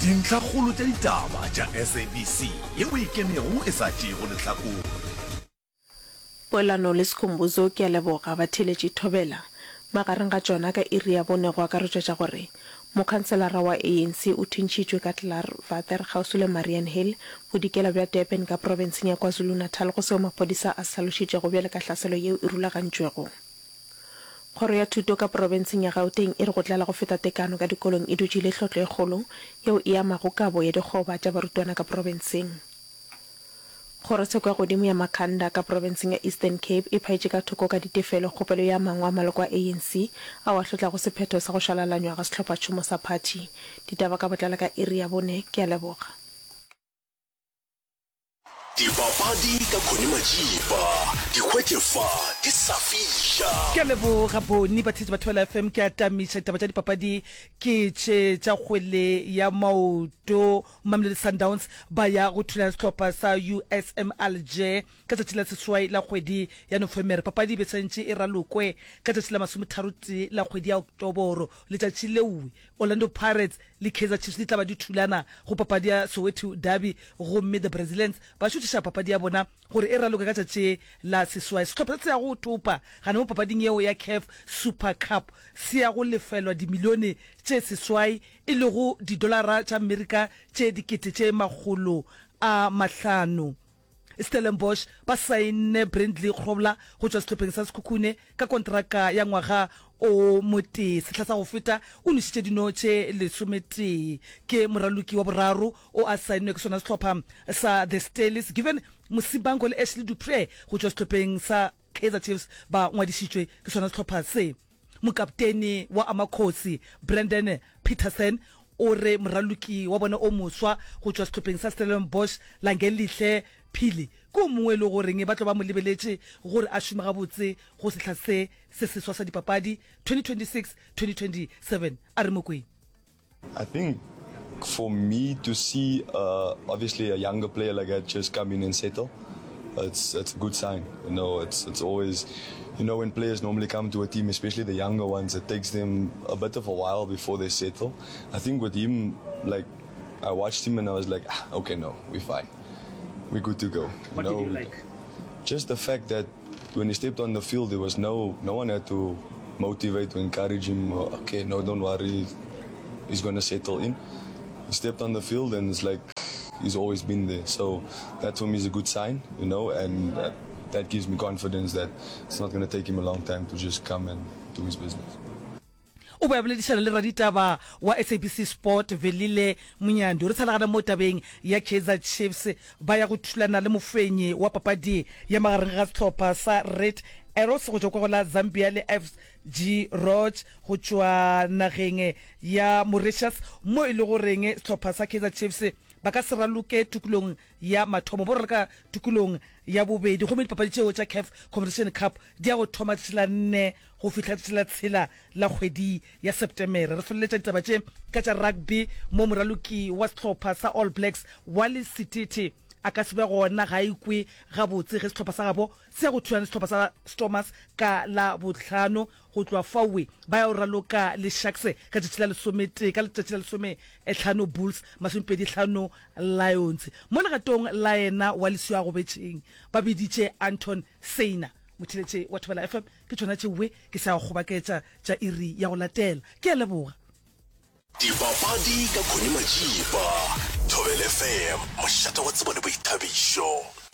Dintlhakgolo tša ditaba tša SABC yeo e ikemego e sa tšeego lehlakore. Poelano le Skhumbuzo ke a leboga batheeletši Thobela. Magareng ga tšona ka iri ya bone go akaretšwa tša gore mokhanselara wa ANC o thuntšhitšwe ka Klaarwater kgauswi le Mariannhill, bodikela bja Durban ka profenseng ya KwaZulu-Natal go seo maphodisa a se hlalošitšego bjale ka hlaselo yeo e rulagantšwego. Kgoro ya Thuto ka profenseng ya Gauteng e re go tlala go feta tekano ka dikolong e dutše e le hlotlo e kgolo yeo e amago kabo ya dikgoba tša barutwana ka profenseng. Kgorotsheko ya godimo ya Makhanda ka profenseng ya Eastern Cape e phaetše ka thoko ka ditefelo kgopelo ya mangwe a maloko a ANC ao a hlotlago sephetho sa go šwalalanywa ga sehlophatšhomo sa phathi. Ditaba ka botlalo ka iri ya bone. Ke a leboga. Dipapadi ka Connie Majiba, di hwetše fa di sa fiša. Ke a leboga Boni, batheetši ba Thobela FM. Ke a tamiša ditaba tša dipapadi ke tše tša kgwele ya maoto. Mamelodi Sundowns ba ya go thulana sehlopha sa USM Alger ka tšatši la seswai la kgwedi ya Nofemere. Papadi e be swantše e ralokwe ka tšatši la masometharotee la kgwedi ya Oktoboro. Letšatši leo Orlando Pirates le Kaizer Chiefs di tla ba di thulana go papadi ya Soweto Derby gomme The Brazilians ba šuthiša papadi ya bona gore e raloke ka tšatši la seswai. Sehlopha se se yago go topa gana mo papading yeo ya Caf Super Cup se ya go lefelwa dimilione tše seswai e lego didolara tša Amerika tše 500,000. Stellenbosch ba saenne Brindley Grobler go tšwa sehlopheng sa Sekhukhune ka kontraka ya ngwaga o motee. Sehla sa go feta o nwešitše dino tše lesometee. Ke moraloki wa boraro o a saennwe ke sona sehlopha sa The Stellies. Given Mosimango le Ashley Du Preez go tšwa sehlopheng sa Kaizer Chiefs ba ngwadišitšwe ke sona sehlopha se. Mokapteni wa Amakhosi, Brandon Petersen, o re moraloki wa bona o moswa go tšwa sehlopheng sa Stellenbosch, Langelihle Phili, ke o mongwe e le goreng ba tlo ba mo lebeletše gore a šome gabotse go sehla se se seswa sa dipapadi 2026-2027. A re mo kweng. I think for me to see uh, obviously a younger player like that just come in and settle, it's it's a good sign. You know, it's it's always, you know, when players normally come to a team, especially the younger ones, it takes them a bit of a while before they settle. I think with him, like, I watched him and I was like, ah, okay, no, we're fine, we're good to go. What you know, did you like? Just the fact that when he stepped on the field, there was no no one had to motivate or encourage him. Okay, no, don't worry, he's gonna settle in. He stepped on the field and it's like he's always been there. So that for me is a good sign, you know, and that, that gives me confidence that it's not gonna take him a long time to just come and do his business. O be a boledišana le raditaba wa SABC Sport, Velile Monyando. Re sa le gana mo tabeng ya Kaizer Chiefs, ba ya go thulana le mofenyi wa papadi ya magareng ga sehlopha sa Red Arrows go tšwa kwa go la Zambia le FG Roch go tšwa nageng ya Mauritius, mo e le goreng sehlopha sa Kaizer Chiefs ba ka se raloke tokolong ya mathomo, ba raloka tokolong ya bobedi gomme dipapadi tšeo tša Caf Confederation Cup di ya go thoma tšatši la nne go fihla tšatši la tshela la kgwedi ya Septemere. Re feleletša ditaba tše ka tša rugby mo moraloki wa sehlopha sa All Blacks Wally Sititi a ka se be gona ga a ikwe gabotse ge sehlopha sa gabo se ya go thulana le sehlopha sa Stormers ka Labohlano. Go tloga faoe ba ya go raloka le Sharks ka tšatši la lesometee, ka letšatši la lesomehlano Bulls, masomepedihlano Lions. Mo legatong la yena wa leswi a gobetšeng ba biditše Anton Seina. Motheeletši wa Thobela FM, ke tšona tšeoe ke sa go kgobaketša tša iri ya go latela. Ke a leboga. Dipapadi ka Connie Majiba, Thobela FM, mošate wa tsebo le boithabišo.